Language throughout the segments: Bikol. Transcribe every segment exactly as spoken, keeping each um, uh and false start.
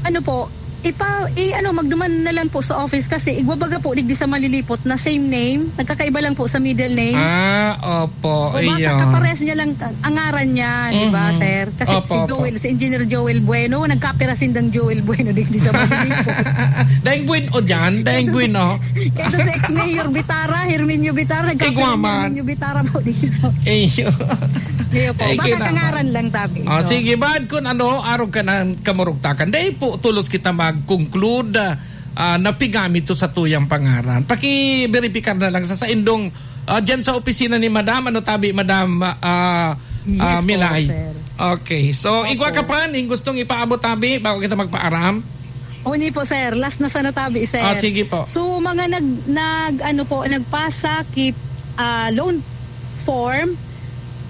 Ano po, ipa-, i-, ano, magduman na lang po sa office kasi igwa baga po digdi sa Malilipot na same name, nagkakaiba lang po sa middle name. Ah, opo, O baka iyo. kapares niya lang ang ngaran niya, di ba, Mhm. sir? Kasi Opo, si opo. Joel, si Engineer Joel Bueno, nagkapira sindang Joel Bueno digdi sa Malilipot. Daing Bueno dyan, daing Bueno. Kaya si ex-mayor Bitara, Herminio Bitara, nagkapira Igwa man. Herminio Bitara po digdi sa Iyo. Iyo po, Ay, baka kinama. kangaran lang, tabi. Ah, So, sige, baad kun ano, arog ka ng kamurugtakan. Dai po tulos kita mag-conclude, ah, na pigamit to sa tuyang pangaran. Pakiberipikar na lang sa saindong, ah, dyan sa opisina ni Madam, ano tabi, Madam, ah, Yes ah, po, Milay? sir. Okay. So, Opo. igwa ka pa, ning gustong ipaabot tabi, bago kita magpaaram? Uni po, sir. Last na sana tabi, sir. Ah, sige po. So, mga nag-, nag-, ano po, nagpasa ki, ah, loan form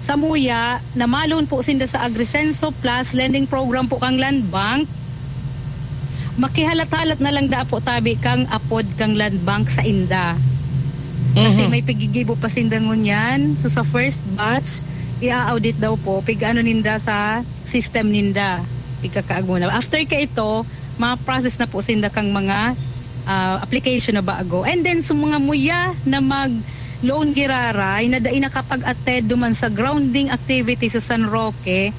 sa Muya na ma-loan po sinda sa Agrisenso Plus lending program po kang Land Bank. Makihalat-halat na lang da po tabi kang apod kang Land Bank sa inda. Kasi Mhm. may pigigibo pa sinda ngunyan. So, sa first batch, i-audit daw po, pig-ano ninda sa system ninda, pigkakaaguna. After ka ito, ma-process na po sinda kang mga, ah, application na bago. And then, sa mga muya na mag-loan giraray, na dai nakapag-attend duman sa grounding activity sa San Roque,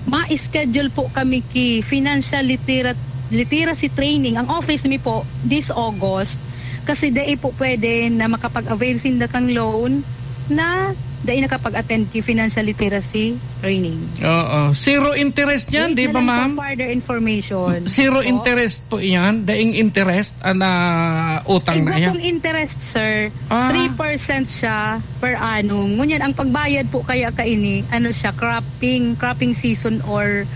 ma-schedule po kami ki financial litera-, literacy training. Ang office mi po, this August, kasi dai po pwede na makapag-avail sinda kang loan na dai nakapag-attend ki financial literacy training. Oo. Zero interest yan, Wait di na ba, lang ma'am? for further information. Zero Po? interest po yan? Daing interest ang, ah, utang na Igwa yan? pong interest, sir. Ah. Three percent siya per annum. Ngunyan, ang pagbayad po kaya kaini, ano siya, cropping, cropping season or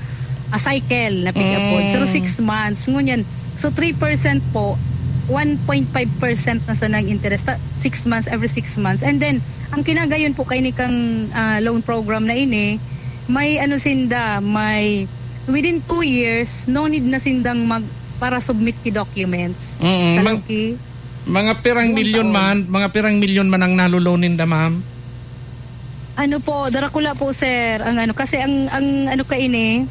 a cycle na pick-up po. Mm. So, six months. Ngunyan, so three percent po, one point five percent na sana ang interest. Ta-, six months, every six months. And then, ang kinagayon po kaini kang, ah, loan program na ini, may ano sinda, may within two years, no need na sindang mag-, para submit ki documents. Mm, Sa mang-, Loki. mga pirang Yun milyon taon. man, mga pirang milyon man ang nalo-loan ninda, ma'am? Ano po, darakula po, sir, ang ano, kasi ang, ang ano kaini,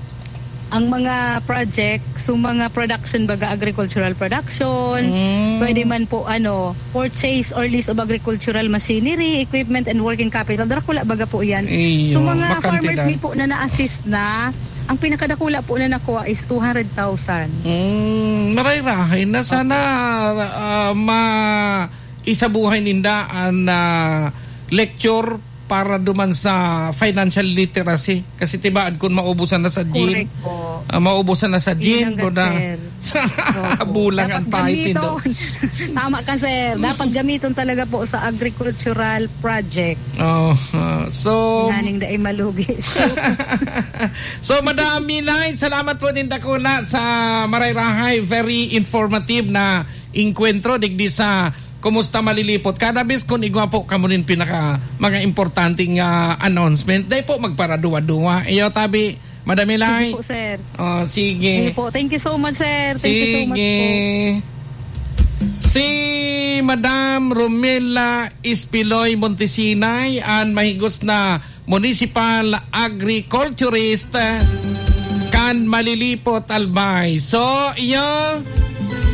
ang mga project, so mga production, baga agricultural production, Mm. pwede man po, ano, purchase or lease of agricultural machinery, equipment, and working capital. Darakula baga po yan. Iyo, So mga makantidad. farmers mi po na na-assist na, ang pinakadakula po na nakuha is two hundred thousand. Mm, maray-rahay na sana, Opo. ah, ma-, isabuhay ninda an, ah, lecture para duman sa financial literacy. Kasi tibaad kun maubusan na sa gin, Correct po. ah, maubusan na sa Yun gin, ang kuda, sir. sa Opo. bulang Dapat ang paiti do. gamiton. Tama ka, sir. Dapat gamiton talaga po sa agricultural project. Oh, ah, so Nganing dai malugi. So, Madam Milay, salamat po nin dakula sa maray-rahay. Very informative na engkwentro digdi sa Kumusta Malilipot. Kada bes kun igwa po kamo nin pinaka, mga importanteng, ah, announcement, dai po magparaduwa-duwa. Iyo, tabi, Madam Milay. Sige po, sir. Oh, sige. Sige po. Thank you so much, sir. Thank you so much Sige. po. Si Madam Romela Espiloy Montesinay, an mahigos na municipal agriculturist kan Malilipot, Albay. So, iyo,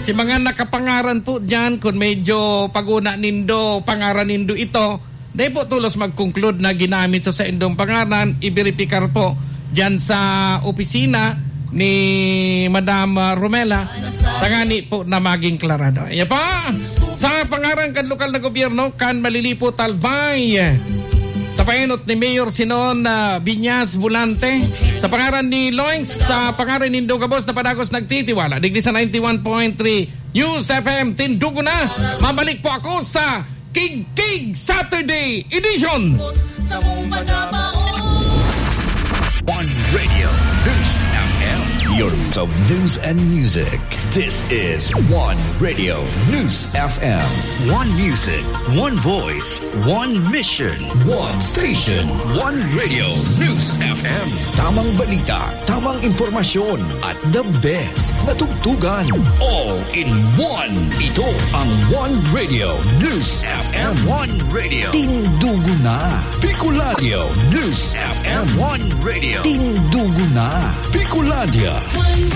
si mga nakapangaran po dyan, kung medyo pag-una nindo, pangaran nindo ito, dai po tulos mag-conclude na ginamit sa saindong pangaran, iberipikar po dyan sa opisina ni Madam, ah, Romela, tangani po na maging klarado. Ayan pa, sa pangaran kan lokal na gobyerno, kan Malilipot, Albay, sa paenot ni Mayor Sinon, ah, Viñas Volante, sa pangaran ni Loings, sa pangaran nindo gabos na padagos nagtitiwala, digdi sa ninety-one point three News F M, tindugo na. Mabalik po ako sa Kigkig Saturday Edition. Sa mong pagkabaon. One Radio News F M. Your mix of news and music. This is One Radio News F M. One music, one voice, one mission, one station. One Radio News F M. Tamang balita, tamang impormasyon, at the best na tugtugan. All in one. Ito ang One Radio News F M. One Radio. Tindugo na. Bicolandia News F M. One Radio. Tindugo na. Bicolandia. One